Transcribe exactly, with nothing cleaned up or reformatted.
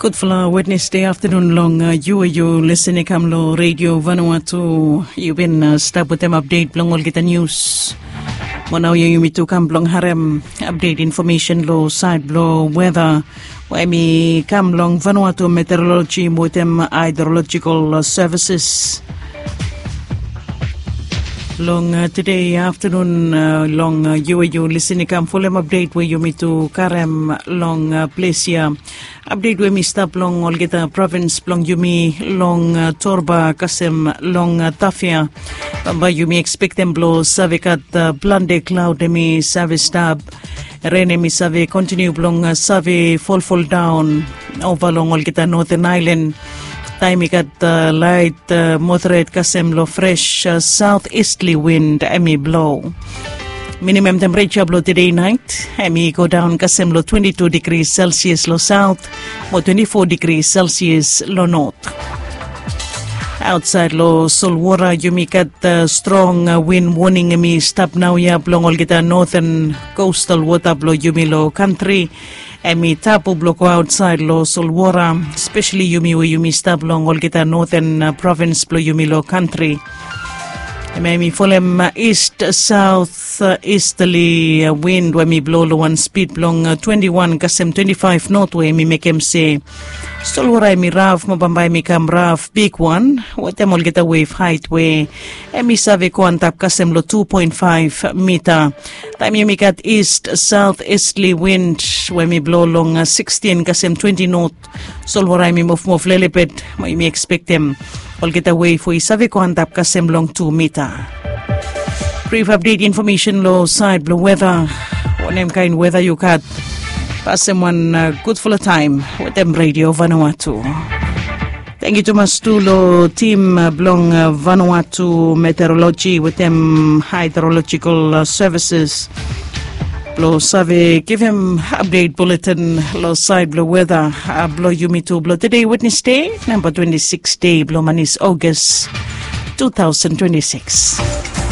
Gudfala Wednesde aftanun long yu we yu lisin i kam long Redio Vanuatu. Yu bin stap wetem apdet blong olgeta nius. Mo nau ya yumi tu kam blong harem apdet infomesen long sait blong weta we em i kam long Vanuatu Meteorologi wetem Hydrological Services. Long tude aftanun, long yu we yu lisin i kam folem apdet we yumi tu karem long ples ya. Apdet we mi stap long olgeta provins blong yumi long Torba kasem long Tafia. Bambae yumi ekspektem blong save gat plante klaud em i save stap. Ren em i save kontiniu blong save folfoldaon ova long olgeta noten ailan. Taem i gat lait, moderet kasem long fres saot istli wind em i blo. Minimem tempereja blong tude nait em i godaon kasem long twenti tu digri selsias long saot mo twenti fo digri selsias long not. Aotsaed long solwora yumi gat strong win woning em i stap naoia blong olgeta noten kostal wota blong yumi long kantri. Em i tabu blong go aotsaed long solwora, spesali yumi we yumi stap long olgeta noten provins blong yumi long kantri. Em i folem ist saot istali wind we em i blo long wan spid blong twenti wan kasem twenti faef not we em i mekem se solwora em i raf mo bambae em i kam raf bigwan wetem olgeta wef haet we em i save go antap kasem long tu poen faef mita. Taem yumi gat ist saot istli wind we em i blo long sikstin kasem twenti not, solwora em i mofmof lelebet mo yumi ekspektem olgeta wef we i save go antap kasem long tu mita. Brif apdet infomesen long sait blong weta. Wanem kaen weta yu gat? Pasem wan gudfala taem wetem Redio Vanuatu. Tangkiu tumas tu long tim blong Vanuatu Meteorologi wetem Hydrological Services blong save givim apdet buletin long sait blong weta blong yumi tu blong tude Wednesde, namba twenti siks dei blong manis Ogas tu taosen twenti siks.